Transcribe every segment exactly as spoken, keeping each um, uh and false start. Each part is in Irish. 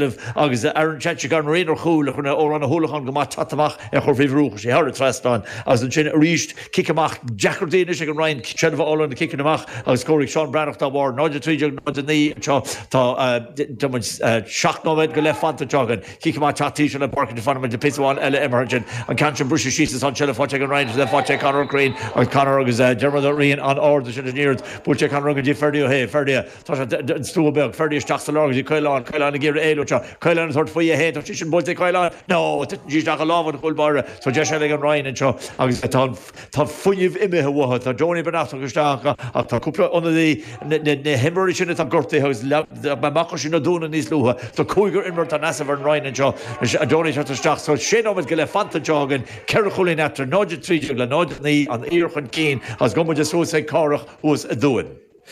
agus Aaron Chatchick an réon ar chúl chuna ó an húlachan go maith amach ar chur fé bhrúcha sé thar trasnán agus ansin arís cic amach deacair déine ag an Rinn seilbh a fháil cic amach agus scóráil Seán Breathnach dá bharr náid trí náid naoi seo tá seacht nóiméad go leith fanta againn cic amach teatí le park fan de pisháin eile imargin an ceann sin briste síos an seilbh faighte an Rinn le faighte Conor Crane agus Conor agus Dermot Rian an ard sin an iarracht buailte Conor go dtí Ferdi Ó hé Ferdi tá an stua beag Ferdi isteach sa lár go dtí Caolán Caolán ag iarraidh éalú seo Caolán tabhairt faoi é tá sin buailte Caolán no isteach i lámha an chúl báire so deis ag an Rinn anseo agus tá tá fuinneamh imithe uathu tá Johnny Benacht isteach ach tá cúpla ionadaí na himreoirí sin atá gortaithe agus amach sin na dúna níos luaithe Tá cúigear imreoir an as an Rinn anseo a Johnny isteach so sé nóiméad go leith fanta anseo againn ceithre chúilín eatarthu náid trí le náid naoi an Aoir chun cinn agus go muid suas ag Cárthach thuas i dTuaim.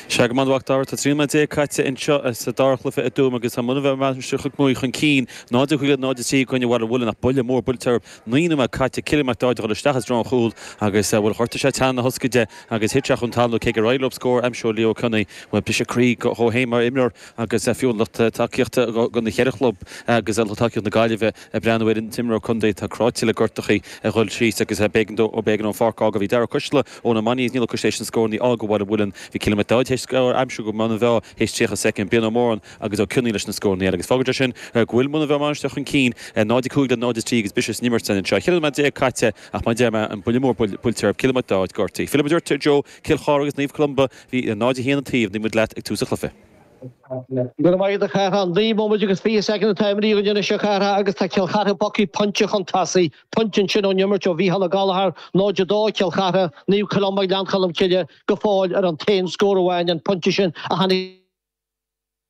Sé go maith dar tá trí déag caite anseo sa dara cluiche i dTuaim agus tá Muine Mheá chuig chun cinn náid chuig náid trí chuine bhfuil bhfuil nach buille mór buailte naoi nóiméad caite Cillian Mac Dáid isteach as drón chúl agus bhfuil chuirta sé teanna thoscaide agus hit chun talú cé go raibh scór aimsithe Leo Cunny bhfuil pise croí go héim mar imreoir agus fiú lucht tacaíochta go na cheithre chlub agus lucht tacaíocht na Gaillimhe ag breathnú ar an t-imreoir contae tá cráite le gortachaí a dhul síos agus b'éigean dó ó b'éigean an pháirc a bhí Dara Cuisle ó na Maní níl chu sé scór ní ága bhfuil bhfuil bhí Cillian Mac Dáid scór aimsithe go man bhe héis tríocha soicind Bian Móran agus ó Cunní leis na scór agus fágann sin go bhfuil Muine Mheá Mainistir chun cinn náid cúig le náid trí agus bisis nimir san seo. Chill déag caite ach mar deir an buille mór buailte Cillian Mac Dáid gortaithe. Philip Dúirt Joe Cill Chartha agus Naomh Columba bhí náid haon taobh ní leat ag tús an chluiche. Gur maith a Chárthaigh an naoi nóiméad agus fiche soicind atá imeartha againn seo Chartha agus tá Cill Chartha bogtha pointe chun tosaigh pointe sin ón imirt ó Mhícheál Ó Gallchóir náid dó Cill Chartha Naomh Columba Gleann Cholm Cille go fóill ar an t-aon scór amháin an pointe sin a tháinig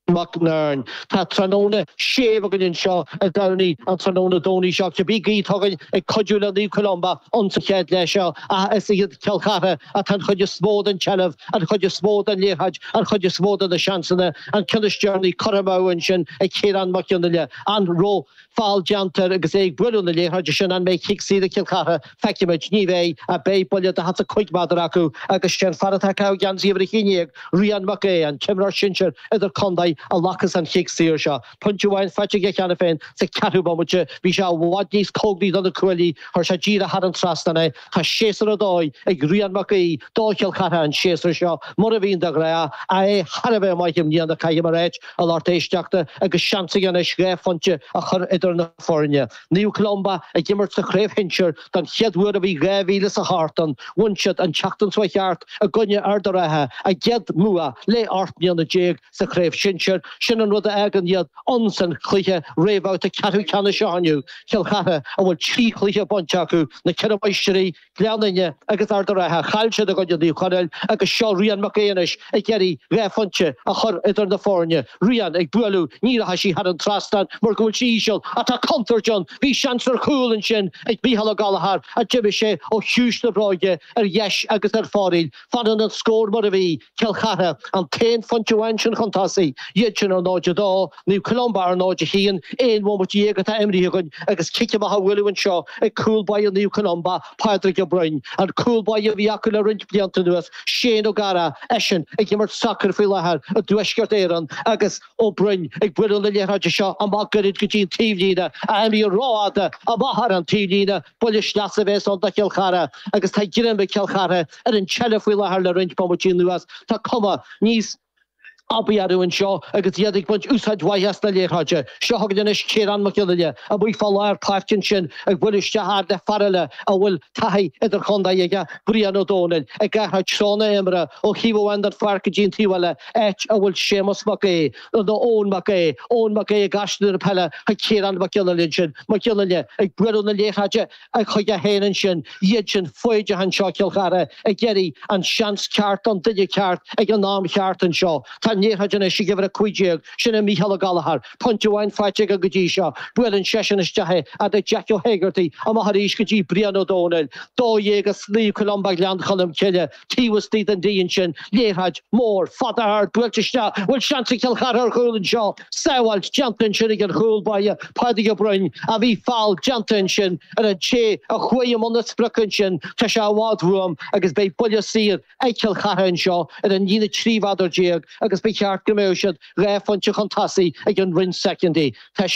Mac Nearn. Tá tráthnóna séimh againn anseo i gCarnaí an tráthnóna Domhnaigh seo cibé gaoth againn ag cuidiú le Naomh Columba an sa chéad leath seo a is iad Cill Chartha atá an chuid is mó den tseilbh an chuid is mó den liathróid an chuid is mó de na seansanna an ceann is deireanaí curtha amú ansin ag Ciarán Mac Fhionnaile an raibh feall déanta agus é ag bualadh na liathróide sin an mbeidh cic saor ag Cill Chartha feicfimid ní bheidh a beidh buille daichead a cúig méadar acu agus sin fear atá geansaí uimhir a haon déag Rian Mac é an t-imreoir sinsir idir contae a ghlacas an chic saor seo. Pointe amháin faighte aige cheana féin sa ceathrú bomaite bhí sé i bhfad níos cóngaraí do na cuaillí chuir sé díreach thar an trasnán é Tá séasúr ar dóigh ag Rian Mac Aoidh do Chill Chartha an séasúr seo mar a bhíonn de ghnáth a é thar a bheith maith i mbliana caithfidh mé a rá a lucht éisteachta agus seans aige anois dhá phointe a chur idir na foirne. Naomh Columba ag imirt sa chraobh shinsir don chéad uair ó bhí dhá mhíle is a hocht ann bhain siad an tseachtain seo thart i gcoinne Ard an Rátha a gcéad bhua le ocht mbliana déag sa chraobh sinsir sin an rud a fhágann iad an san chluiche réamhbhabhta ceathrú ceannais seo inniu Cill Chartha a bhfuil trí chluiche bainte acu na ceithre máistrí Gleann Fhinne agus Ard an Rátha chaill siad i gcoinne Naomh Chonaill agus seo Rian Mac Aonais ag iarraidh dhá phointe a chur idir na foirne. Rian ag bualadh ní rachaidh sí thar an trasnán mar go bhfuil sí íseal atá contúirt ann bhí seans ar chúl ansin ag Mícheál Ó Gallchóir a d'imigh sé ó chiumhais na bróige ar dheis agus ar fóraoil. Fanann an scór mar a bhí Cill Chartha an t-aon phointe amháin sin chun tosaigh iad sin ar náid a dó, Naomh Columba ar náid a haon aon bhomaite déag atá imeartha againn agus cic amach á bhualadh anseo ag cúl báire Naomh Columba Pádraig Ó Broin. An cúl báire a bhí acu le roinnt blianta anuas Shane Ó Gara eisean ag imirt sacair faoi láthair i dTuaisceart Éireann agus Ó Broin ag bualadh na liathróide seo amach gairid go dtí an taobhlíne a imíonn rófhada amach ar an taobhlíne buille sleasa a bheas ann do Chill Chartha agus tá greim ag Cill Chartha ar an tseilbh faoi láthair le roinnt bomaití anuas tá cuma níos aibí orthu anseo agus iad ag baint úsáid mhaith as na liathróide. Seo chugainn anois Ciarán Mac Fhionnaile amuigh fá lár páirce ansin ag bualadh isteach fhad le fear eile a bhfuil taithí idir chontae aige Brian Ó Dónaill ag athrú treo na himeartha ó thaobh amháin den pháirc go dtí an taobh eile áit a bhfuil Séamus Mac Aodh nó Eoin Mac Aodh Eoin Mac Aodh ag aistriú na peile chuig Ciarán Mac Fhionnaile ansin Mac Fhionnaile ag bualadh na liathróide chuige féin ansin iad sin foighdeach anseo Cill Chartha ag iarraidh an seans ceart don duine ceart ag an am cheart anseo. Tá an liathróid anois ag uimhir a cúig déag sin é Mícheál Ó Gallchóir pointe amháin faighte aige go dtí seo buaileann seisean isteach é fhad le Jack Ó hÉigeartaigh amach arís go dtí Brian Ó Dónaill dó dhéag as Naomh Columba Gleann Cholm Cille taobh istigh den díon sin liathróid mór fada ard buailte isteach bhfuil seans ag Cill Chartha ar chúl anseo sábháilt déanta ansin ag an chúl báire Pádraig Ó Broin a bhí feall déanta ansin ar an té a chuaigh i mbun na sprice ansin tá sé i bhfad uaim agus beidh buille saor ag Cill Chartha anseo ar an líne trí mhéadar déag agus ba cheart go mbeadh siad dhá phointe chun tosaigh ag an roinnt soicind. Tá